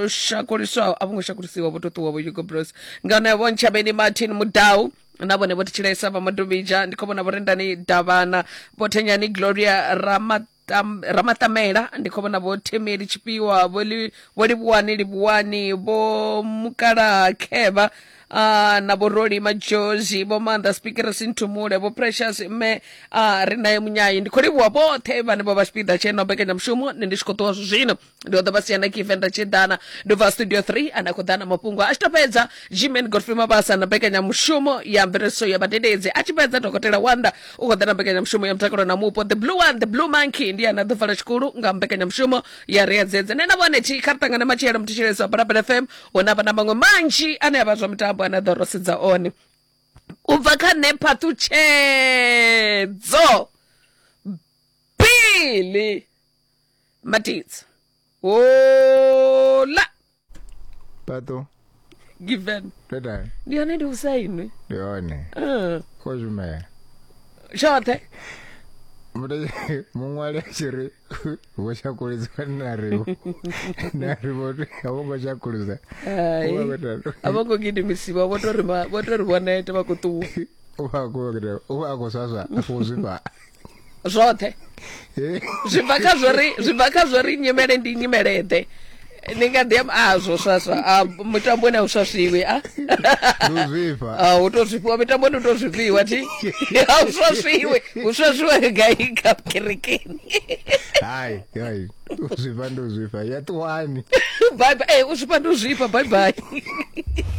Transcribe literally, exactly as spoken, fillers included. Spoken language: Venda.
Shakuliswaho, a vho ngo shakulisiwa, vho to ṱuwa vho Hugo Bros. Nga vho Ntshavheni Martin Mudau na vhone vho thetshelesa vha Madubija. Ndi khou vhona vho Rendani Davhana, vho Thenyani Gloria Ramatam, Ramatamela. Ndi khou vhona vho Themeli Tshifhiwa, vho Li- vho Livhuwani Livhuwani, vho Mukalaha Khevha, uh, na vho Roli Majozi, vho Maanḓa Speaker Sinthumule, vho Precious mme uh, ri naye Munyayi. Ndi khou livhuwa vhoṱhe vhane vho vha tshipiḓa tsha ino mbekanyamushumo. Nṋe ndi tshi khou ṱuwa zwino, ndi ḓo vha sia na Kivenda Tshiḓana, ndi bva studio three ane a khou ḓa na mafhungo. A tshi to fhedza, Gman Godfrey Mabasa na mbekanyamushumo ya mveledziso ya vhadededzi. A tshi fhedza, Dokotela Wanda u khou ḓa na mbekanyamushumo ya mutakalo na mupo. The blue one, the blue monkey, ndi ane a ḓo vala tshikulu nga mbekanyamushumo ya Riadzedze. Nṋe na vhone thi kha ri ṱangane matshelo, muthetshelesi wa Phalaphala F M, huna vha na maṅwe manzhi ane a vha zwa mitambo ane a ḓo ro sedza one. U bva kha nṋe Phaṱhutshedzo Bili Matidza, hola. Pato. Given. Teta. Ndi hone, ndi usainwi. Ndi hone. uh. Kho shumela. Tshoṱhe. Muṅwali a tshi ri vho shakulisa, na ri na ri vho a vho ngo shakulisa. Hai, a vho ngo gidimisiwa, vho to ri ma- vho to ri vho neta, vha khou ṱuwa. U vha khou u vha a khou swaswa, a khou zwifha. Zwoṱhe zwi bva kha zwori zwi bva kha zwori nyimele ndi nyimele ḓe. Ni nga ḓi amba a zwo swaswa a mitamboni a u swaswiwi a. Ndi u zwifha. A u to zwifhiwa mitamboni, u to zwifhiwa thi, a u swaswiwe, u swaswiwe gai kha kerekeni? Hai hai, u zwifha ndi u zwifha, ya ṱuwani. Bye bye. Eh, u zwifha ndi u zwifha. Bye bye.